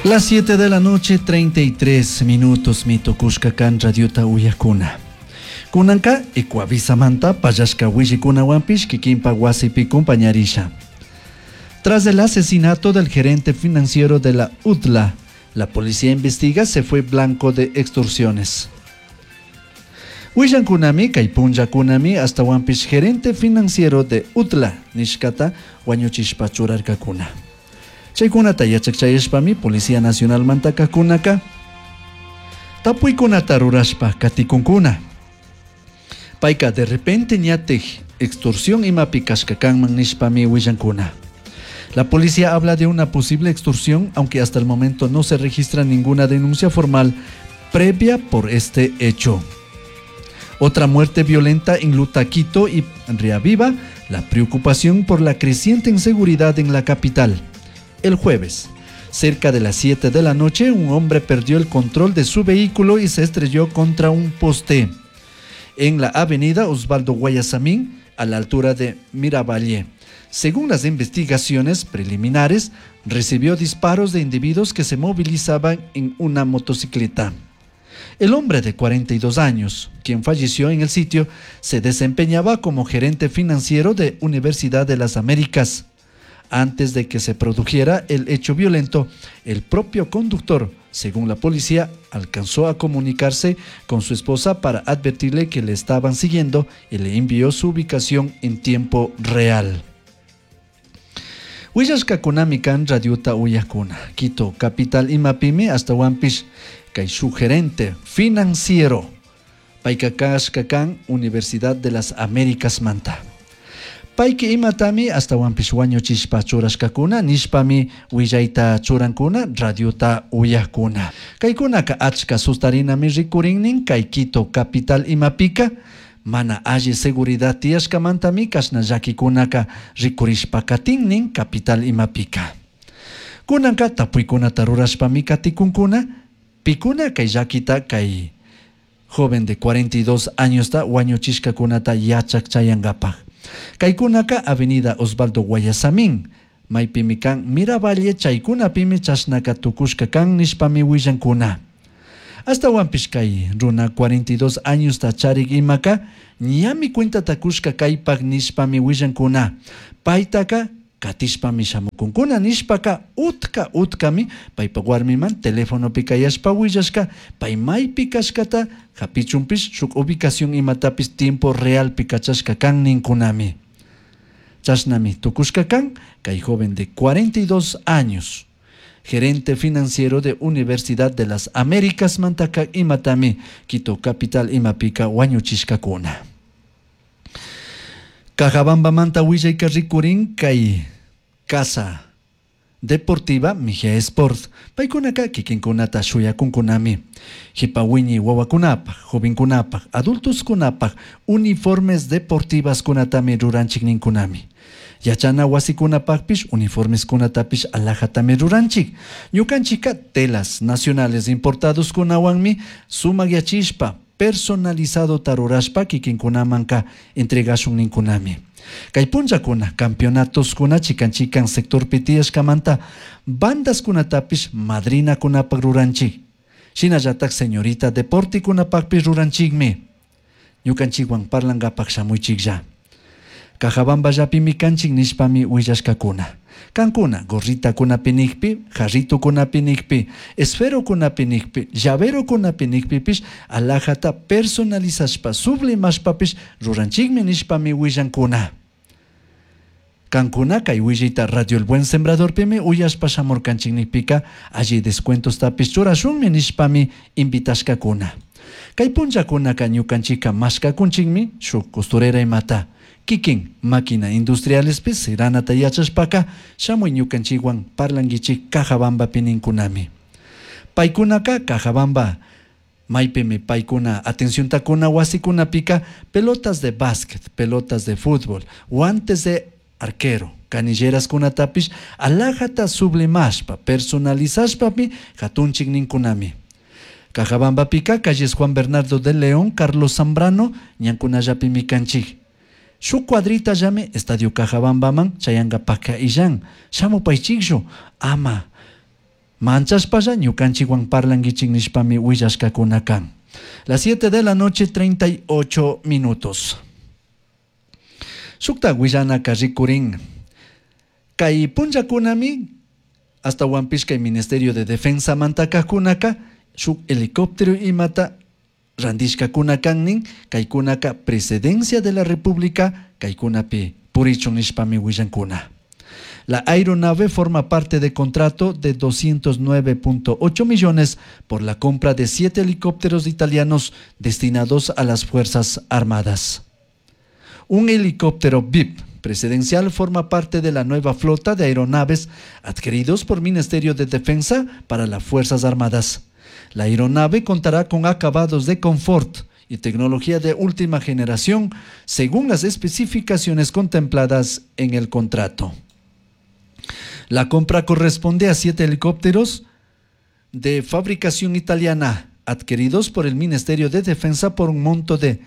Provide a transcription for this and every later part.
Las 7 de la noche, 33 minutos, mitukushka kan radiota uyakuna. Kunanka Ecuavisamanta pallashka willikunawanpish kikinpa wasipi compañarisha. Tras el asesinato del gerente financiero de la UTLA, la policía investiga se fue blanco de extorsiones. Willankunami kay punllakunami ashtawanpish gerente financiero de UTLA nishkata wañuchishpa churarkakuna. Chaykunata yachakchayashpami Policía Nacionalmanta kajkunaka tapuykunata rurashpa katikunkuna. Payka de repente ñatik extorsión imapi kashka kanman nishpami willankuna. La policía habla de una posible extorsión, aunque hasta el momento no se registra ninguna denuncia formal previa por este hecho. Otra muerte violenta en Lutaquito y reaviva la preocupación por la creciente inseguridad en la capital. El jueves, cerca de las 7 de la noche, un hombre perdió el control de su vehículo y se estrelló contra un poste en la avenida Osvaldo Guayasamín, a la altura de Miravalle. Según las investigaciones preliminares, recibió disparos de individuos que se movilizaban en una motocicleta. El hombre de 42 años, quien falleció en el sitio, se desempeñaba como gerente financiero de Universidad de las Américas. Antes de que se produjera el hecho violento, el propio conductor, según la policía, alcanzó a comunicarse con su esposa para advertirle que le estaban siguiendo y le envió su ubicación en tiempo real. Willashkakunami kan radiota uyakuna. Quito, capital imapimi ashtawanpish kay shuk gerente financiero. Payka kashka kan Universidad de las Américas manta. Payki imatami ashtawanpish wañuchishpa churashkakuna nishpami willayta churankuna radiota uyakuna. Kaykunaka achka sustarinami rikurinnin kay Quito capital imapika mana alli seguridad tiyashkamantami kashna llakikunaka rikurishpa katinnin capital imapika. Kunanka tapuykunata rurashpami katikunkuna pikuna kay llakita kay joven de 42 añosta wañuchishkakunata yachak chayankapaj. Kaykunaka Avenida Osvaldo Guayasamín, maypimi kan Miravalle chaykunapimi chashnaka tukushka kan nishpami willankuna. Ashtawanpish kay runa 42 añosta charik imaka ñami cuentata kushka kaypak nishpami willankuna. Paytaka katishpami shamukunkuna nishpaka utka utkami paypak warmiman telefonopi kayashpa willashka pay maypi kashkata hapichunpish shuk ubicación imatapish tiempo realpi kachashka kan ninkunami. Chashnami tukushka kan kay joven de 42 años, gerente financiero de Universidad de las Américas mantaka imatami Quito capital imapika wañuchishkakuna. Cajabambamanta willayka rikurin kay Casa Deportiva Mejía Sport. Paykunaka kikinkunata shuyakunkunami. Jipa wiñay wawakunapaj, jovenkunapaj, adultoskunapaj, uniformes deportivas kunatami ruranchik ninkunami. Yachana wasikunapajpish uniformes kunatapish alajatami ruranchik. Ñukanchika telas nacionales importados kunawanmi sumakyachishpa personalizado tarurashpa kikinkunamanka entregashun ninkunami. Kay punllakuna campeonatoskuna chikan chikan sectorpi tiyashkamanta bandaskunatapish madrinakunapak ruranchik. Shinallatak señorita deportikunapakpish ruranchikmi. Ñukanchikwan parlankapak shamuychiklla. Cajabamballapimi kanchik nishpami willashkakuna. Kankuna gorritakunapi nikpi, jarritukunapi nikpi, esferokunapi nikpi, llaverokunapi nikpipish alajata personalizashpa sublimashpapish ruranchikmi nishpami willankuna. Kankuna kay willayta Radio El Buen Sembradorpimi uyashpa shamurkanchik nikpika alli descuentostapish churashunmi nishpami invitashkakuna. Kay punllakunaka ñukanchika mashkakunchikmi shuk costurera imata. Kikin máquina industrialespi siranata yachashpaka shamuy ñukanchikwan parlankichik Cajabambapi ninkunami. Paykunaka Cajabamba maypimi paykuna atenciontakuna wasikunapika pelotas de básquet, pelotas de fútbol, guantes de arquero, canilleras kunatapish alajata sublimashpa, personalizashpami hatunchik ninkunami. Cajabambapika calles Juan Bernardo de León, Carlos Zambrano, ñankunallapimi kanchik. Shuk cuadrita llame Estadio Cajabambaman chayankapaka illan shamupaychikchu ama Manchashpalla ñukanchikwan parlankichik nishpami willashkakuna kan. Las 7 de la noche 38 minutos. Shukta willanaka rikurin. Kay punllakunami ashtawanpish kay Ministerio de Defensa mantakajkunaka shuk helicóptero imata randishkakuna kan nin, kaykunaka Presidencia de la República kaykunapi purichun nishpami willankuna. La aeronave forma parte de contrato de 209.8 millones por la compra de 7 helicópteros italianos destinados a las Fuerzas Armadas. Un helicóptero VIP presidencial forma parte de la nueva flota de aeronaves adquiridos por Ministerio de Defensa para las Fuerzas Armadas. La aeronave contará con acabados de confort y tecnología de última generación según las especificaciones contempladas en el contrato. La compra corresponde a 7 helicópteros de fabricación italiana adquiridos por el Ministerio de Defensa por un monto de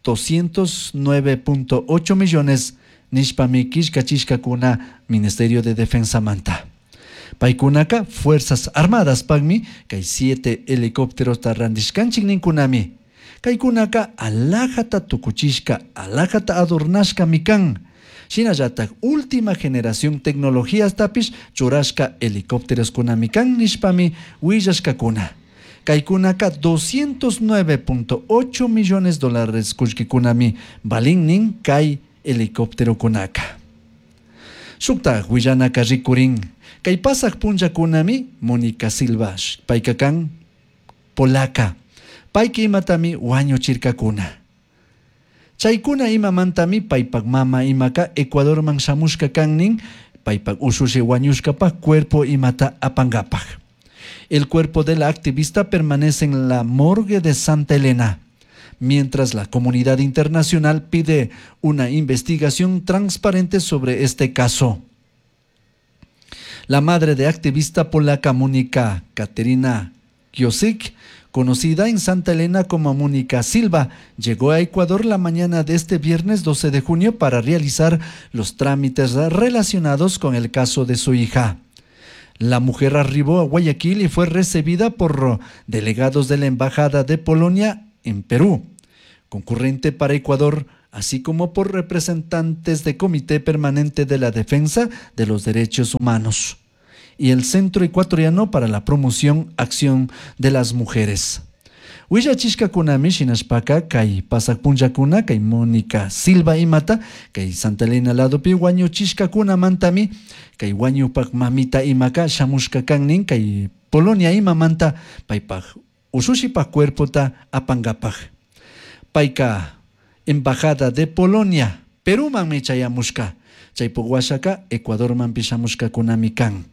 209.8 millones nishpami killkachishkakuna Ministerio de Defensa manta. Paykunaka Fuerzas Armadas pagmi kay 7 helicópteros randishkanchik ninkunami. Kaykunaka alajata tukuchishka, alajata adornashkami kan. Shinallatak última generación tecnologías tapish churashka helicópteros kunami kan nishpami willashkakuna. Kaykunaka 209.8 millones dólares kullkikunami balin nin kay helicóptero kunaka. Shukta willanaka rikurin. Kay pasaq punllakunami Mónica Silva payka kan polaca. Payka imatami wañuchirkakuna. Chaykuna imamantami paypak mama imaka Ecuadorman shamushka kan nin paypak ushushi wañushkapak cuerpo imata apangapak. El cuerpo de la activista permanece en la morgue de Santa Elena, mientras la comunidad internacional pide una investigación transparente sobre este caso. La madre de activista polaca Mónica Katerina Kiosik, conocida en Santa Elena como Mónica Silva, llegó a Ecuador la mañana de este viernes 12 de junio para realizar los trámites relacionados con el caso de su hija. La mujer arribó a Guayaquil y fue recibida por delegados de la Embajada de Polonia en Perú, concurrente para Ecuador, así como por representantes del Comité Permanente de la Defensa de los Derechos Humanos y el Centro Ecuatoriano para la Promoción Acción de las Mujeres. Willachishkakunami shinashpaka kay pasaq punllakuna kay Mónica Silva imata kay Santa Elena ladopi wañuchishkakunamantami kay wañupak mamita imaka shamushka kan nin kay Polonia imamanta paypak ushushipak cuerpota apangapak. Payka Embajada de Polonia Perumanmi chayamushka chaypuk washaka Ecuadormanpi shamushkakunami kan.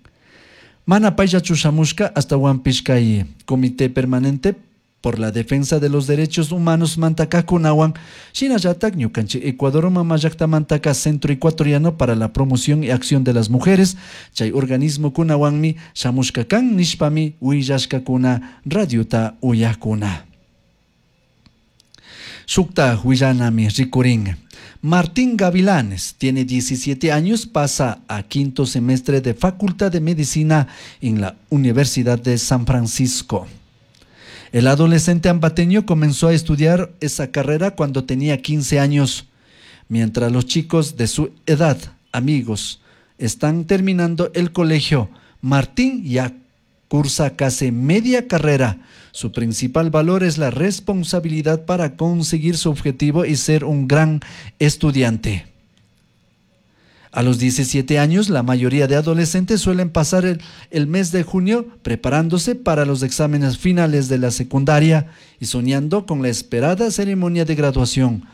Mana payllachu shamushka ashtawanpish kay Comité Permanente por la Defensa de los Derechos Humanos mantakakunawan shinallatak ñukanchik Ecuador mama llaktamantaka Centro Ecuatoriano para la Promoción y Acción de las Mujeres chay organismo kunawanmi shamushka kan nishpami willashkakuna radiota uyakuna. Shukta willanami rikurin. Martín Gavilanes tiene 17 años, pasa a quinto semestre de Facultad de Medicina en la Universidad de San Francisco. El adolescente ambateño comenzó a estudiar esa carrera cuando tenía 15 años, mientras los chicos de su edad, amigos, están terminando el colegio. Martín ya cursa casi media carrera. Su principal valor es la responsabilidad para conseguir su objetivo y ser un gran estudiante. A los 17 años, la mayoría de adolescentes suelen pasar el mes de junio preparándose para los exámenes finales de la secundaria y soñando con la esperada ceremonia de graduación.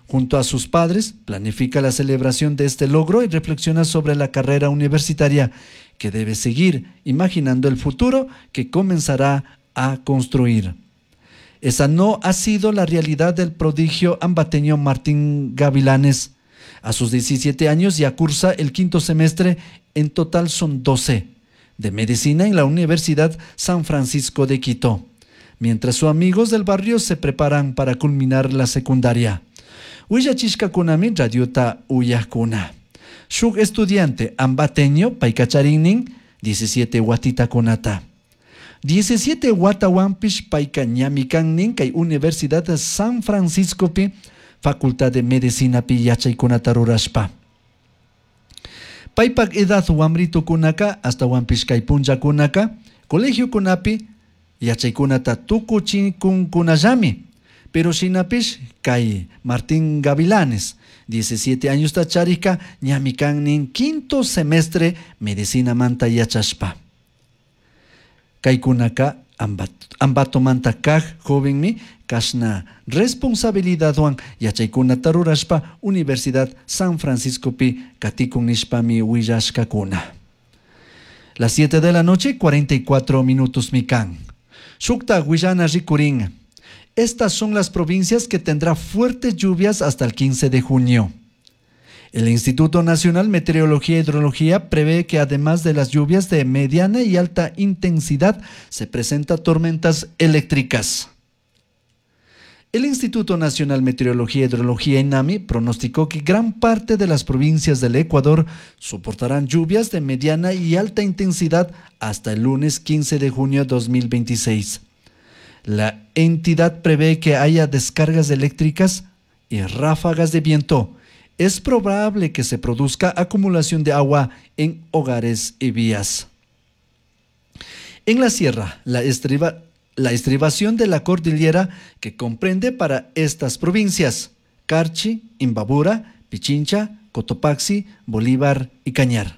Junto a sus padres, planifica la celebración de este logro y reflexiona sobre la carrera universitaria que debe seguir, imaginando el futuro que comenzará a construir. Esa no ha sido la realidad del prodigio ambateño Martín Gavilanes. A sus 17 años ya cursa el quinto semestre, en total son 12, de medicina en la Universidad San Francisco de Quito, mientras sus amigos del barrio se preparan para culminar la secundaria. Willachishkakunami radiota uyakuna. Shuk estudiante ambateño paykacharinin 17 huatitacunata. 17 huatahuanpish paica ñami kan nin kay Universidad de San Franciscopi Facultad de Medicinapi yachaykunata rurashpa. Paypak edad wamritukunaka ashtawanpish kay punllakunaka colegiokunapi yachaykunata tukuchikunkunallami. Pero shinapish kay Martín Gavilanes 17 añosta charishka ñami kan nin quinto semestre medicinamanta yachashpa. Kaykunaka Ambatomanta kaj jovenmi kashna responsabilidadwan yachaykunata rurashpa Universidad San Franciscopi katikun nishpami willashkakuna. Las 7 de la noche, 44 minutos mi kan. Shukta willana rikurin. Estas son las provincias que tendrá fuertes lluvias hasta el 15 de junio. El Instituto Nacional Meteorología e Hidrología prevé que además de las lluvias de mediana y alta intensidad, se presentan tormentas eléctricas. El Instituto Nacional Meteorología e Hidrología INAMI pronosticó que gran parte de las provincias del Ecuador soportarán lluvias de mediana y alta intensidad hasta el lunes 15 de junio de 2026. La entidad prevé que haya descargas eléctricas y ráfagas de viento. Es probable que se produzca acumulación de agua en hogares y vías. En la sierra, la estribación de la cordillera que comprende para estas provincias: Carchi, Imbabura, Pichincha, Cotopaxi, Bolívar y Cañar.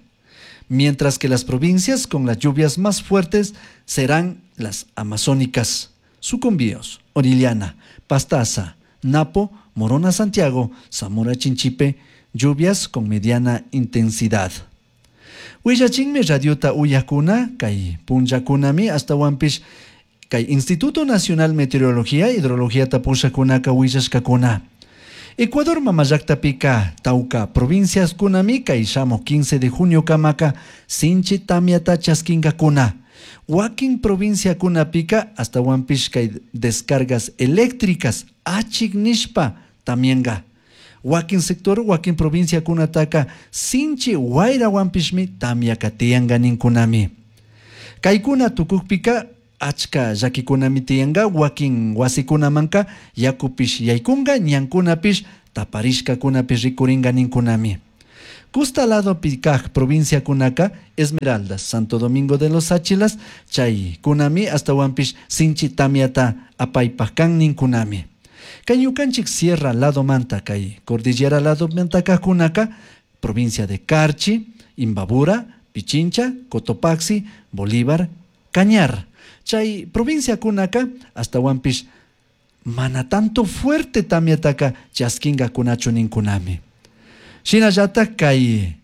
Mientras que las provincias con las lluvias más fuertes serán las amazónicas: Sucumbíos, Orellana, Pastaza, Napo, Morona Santiago, Zamora Chinchipe, lluvias con mediana intensidad. Huillachinmi radiota uyakuna, kay punllakunami ashtawanpish kay Instituto Nacional Meteorología e Hidrología tapushakunaka willashkakuna. Ecuador mamallaqtapika tawka provincias kunami kay shamuq 15 de junio kamaka sinchi tamyata chaskinkakuna. Wakin provinciakunapika ashtawanpish kay descargas eléctricas achik nishpa tamyanka. Wakin sector, wakin provinciakunataka sinchi wayrawanpishmi tamyaka tiyanka ninkunami. Kaykuna tukukpika achka llakikunami tiyanka, wakin wasikunamanka yakupish yaykunka, ñankunapish taparishkakunapish rikurinka ninkunami. Costa ladopi kaj provinciakunaka Esmeraldas, Santo Domingo de los Tsáchilas, chay kunami ashtawanpish sinchi tamyata apaypaj kan ninkunami. Kay ñukanchik sierra ladomanta, kay cordillera ladomanta kajkunaka, provincia de Carchi, Imbabura, Pichincha, Cotopaxi, Bolívar, Cañar. Chay provincia kunaka ashtawanpish mana tanto fuerte tamyataka chaskingakunachu ninkunami. Shinallata kay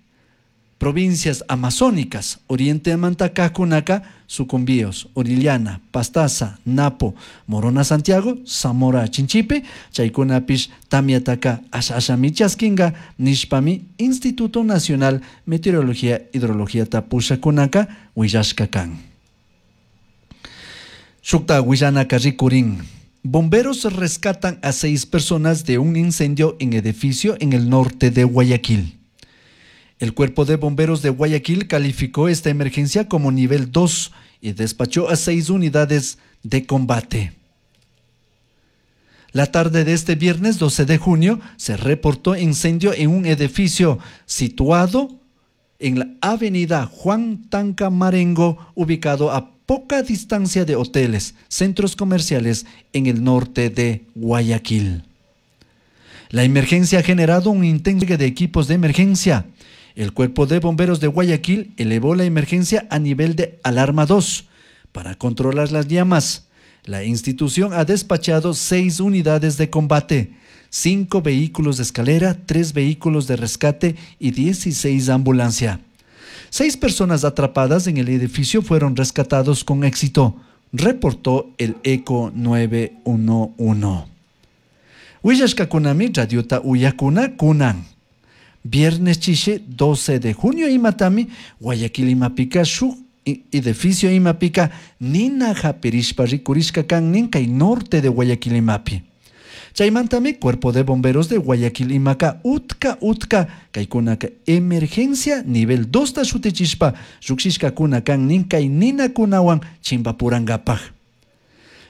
provincias amazónicas, oriente manta kajkunaka, Sucumbíos, Orellana, Pastaza, Napo, Morona Santiago, Zamora Chinchipe, chaykunapish tamyataka asha ashami chaskinga nishpami Instituto Nacional Meteorología Hidrología pushakunaka willashka kan. Shukta willanaka rikurin. Bomberos rescatan a 6 personas de un incendio en edificio en el norte de Guayaquil. El Cuerpo de Bomberos de Guayaquil calificó esta emergencia como nivel 2 y despachó a 6 unidades de combate. La tarde de este viernes 12 de junio se reportó incendio en un edificio situado en la avenida Juan Tanca Marengo, ubicado a poca distancia de hoteles, centros comerciales en el norte de Guayaquil. La emergencia ha generado un intenso de equipos de emergencia. El Cuerpo de Bomberos de Guayaquil elevó la emergencia a nivel de alarma 2 para controlar las llamas. La institución ha despachado 6 unidades de combate, 5 vehículos de escalera, 3 vehículos de rescate y 16 ambulancia. 6 personas atrapadas en el edificio fueron rescatados con éxito, reportó el ECO 911. Willashkakunami radiota uyakuna kunan. Viernes chishe 12 de junio imatami Guayaquil imapika shuk edificio imapika nina japirishpa rikurishka kan nin kay norte de Guayaquil imapi. Chaymantami Cuerpo de Bomberos de Guayaquil imaka utka utka kaykunaka emergencia nivel 2 ta shutichishpa llukshishkakuna kan nin kay ninakunawan chimpapurankapaj.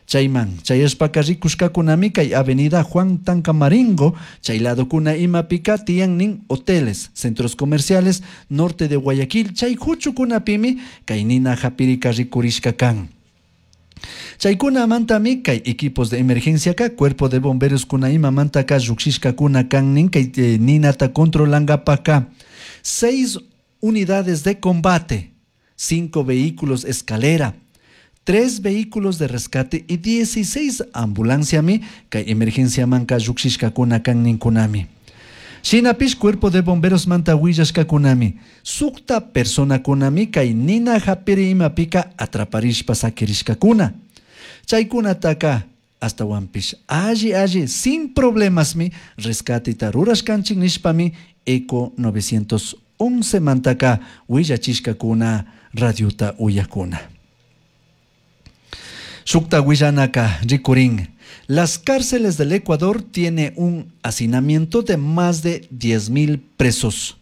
Chayman chayashpaka rikushkakunami kay avenida Juan Tancamaringo chay ladokuna imapika tiyan nin hoteles, centros comerciales norte de Guayaquil chay huchukunapimi kay nina hapirika rikurishka kan. Chaykunamantami kay equipos de emergencia ka cuerpo de bomberos kuna imamantaka llukshishkakuna kan nin kay ninata controlankapaka 6 unidades de combate, 5 vehículos escalera, 3 vehículos de rescate y 16 ambulanciami kay emergencia manka llukshishkakuna kan ninkunami. Shinapish cuerpo de bomberos manta willashkakunami sukta personakunami kay nina hapiri imapika atraparishpa sakirishkakuna. Chaykunataka hasta alli alli sin problemasmi rescateta rurashkanchik nishpami Eco 911 mantaka willachishkakuna radiota uyakuna. Shukta willanaka rikurin. Las cárceles del Ecuador tiene un hacinamiento de más de 10.000 presos.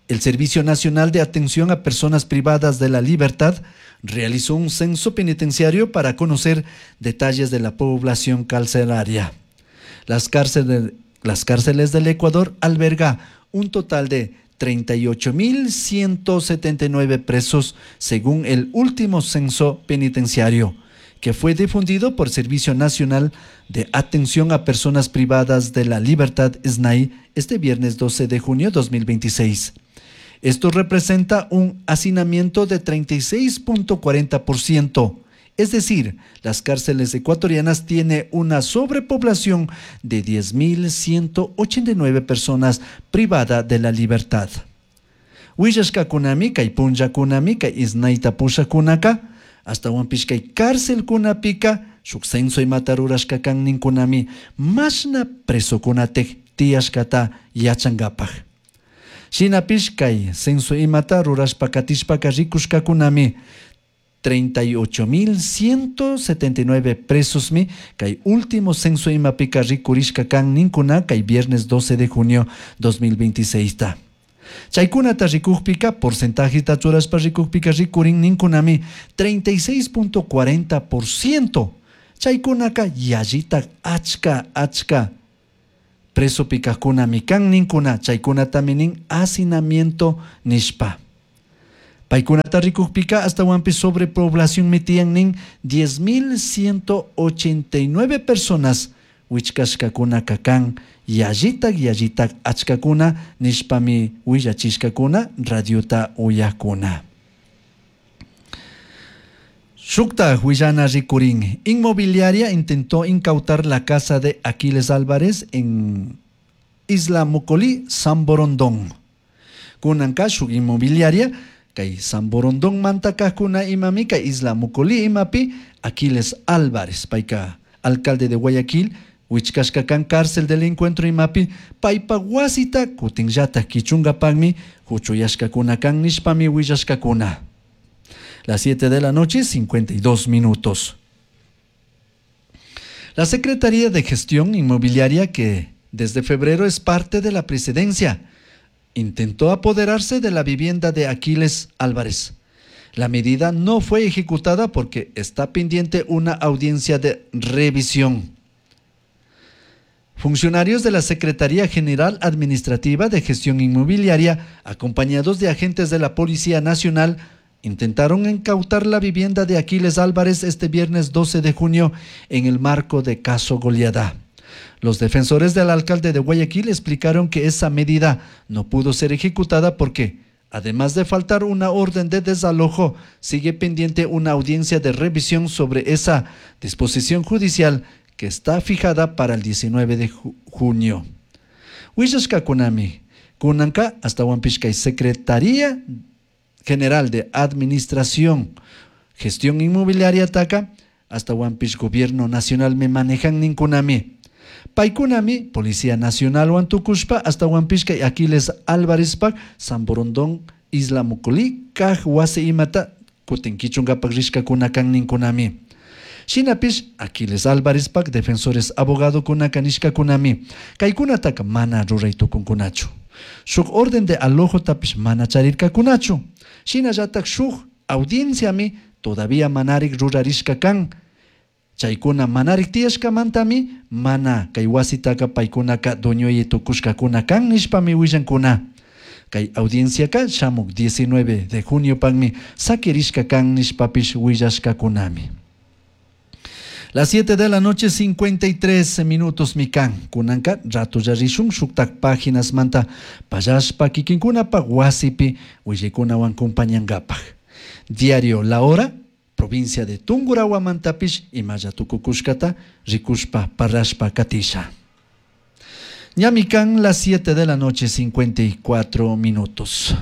El Servicio Nacional de Atención a Personas Privadas de la Libertad realizó un censo penitenciario para conocer detalles de la población carcelaria. Las cárceles del Ecuador alberga un total de 38.179 presos según el último censo penitenciario, que fue difundido por Servicio Nacional de Atención a Personas Privadas de la Libertad, SNAI, este viernes 12 de junio de 2026. Esto representa un hacinamiento de 36.40%. Es decir, las cárceles ecuatorianas tienen una sobrepoblación de 10.189 personas privadas de la libertad. Willashkakunami kay punllakunami kay SNAIta pushakunaka ashtawanpish kay cárcelkunapika shuk censo imata rurashka kan ninkunami mashna presokunatik tiyashkata yachankapaj. Shinapish kay censo imata rurashpa katishpaka rikushkakunami 38.179 presosmi kay último censo imapika rikurishka kan ninkuna kay viernes 12 de junio 2026 ta. Chaykunata rikukpika porcentajeta churashpa rikukpika rikurin ninkunami 36.40%. Chaykunaka yallita achka achka presopikakunami kan ninkuna chaykunatami nin hacinamiento nishpa. Paykunata rikukpika hasta sobrepoblación mitiyan nin 10.189 personas wichkashkakunaka kan yallitak yallitak achkakuna nishpami willachishkakuna radiota uyakuna. Shukta willana rikurin. Inmobiliaria intentó incautar la casa de Aquiles Álvarez en Isla Mocolí, San Borondón. Kunanka shuk inmobiliaria kay San Borondón mantakakuna imami kay Isla Mocolí imapi Aquiles Álvarez payka alcalde de Guayaquil wichkashka kan cárcel del encuentro imapi paypa wasita kutinllata kichunkapakmi huchuyashkakuna kan nishpami willashkakuna. Las 7 de la noche, 52 minutos. La Secretaría de Gestión Inmobiliaria, que desde febrero es parte de la presidencia, intentó apoderarse de la vivienda de Aquiles Álvarez. La medida no fue ejecutada porque está pendiente una audiencia de revisión. Funcionarios de la Secretaría General Administrativa de Gestión Inmobiliaria, acompañados de agentes de la Policía Nacional, intentaron incautar la vivienda de Aquiles Álvarez este viernes 12 de junio en el marco de caso Goleada. Los defensores del alcalde de Guayaquil explicaron que esa medida no pudo ser ejecutada porque, además de faltar una orden de desalojo, sigue pendiente una audiencia de revisión sobre esa disposición judicial que está fijada para el 19 de junio. Willashkakunami, kunanka ashtawanpish kay Secretaría General de Administración, Gestión Inmobiliaria taka, ashtawanpish Gobierno Nacional me manejan ninkunami. Paykunami, Policía Nacional wantukushpa, ashtawanpish kay Aquiles Álvarez pak, San Borondón, Isla Mocolí, kaj wasi imata, kutin kichunkapak rishkakuna kan ninkunami. Shinapish Aquiles Álvarezpak defensores abogadokunaka nishkakunami kaykunataka mana ruray tukunkunachu. Shuk orden de alojotapish mana charirkakunachu. Shinallatak shuk audienciami todavía manarik rurarishka kan. Chaykuna manarik tiyashkamantami mana kay wasitaka paykunaka dueñoyi tukushkakuna kan nishpami willankuna. Kay audienciaka shamuk 19 de juniopakmi sakirishka kan nishpapish willashkakunami. Las 7 de la noche 53 minutos mi kan. Kunanka ratolla rishun shuktak páginas manta pallashpa kikinkunapaq wasipi willaykunawan compañankapaq. Diario La Hora, provincia de Tungurahuamantapish imalla tukukushkata rikushpa parrashpa katisha. Ñami kan las 7 de la noche 54 minutos.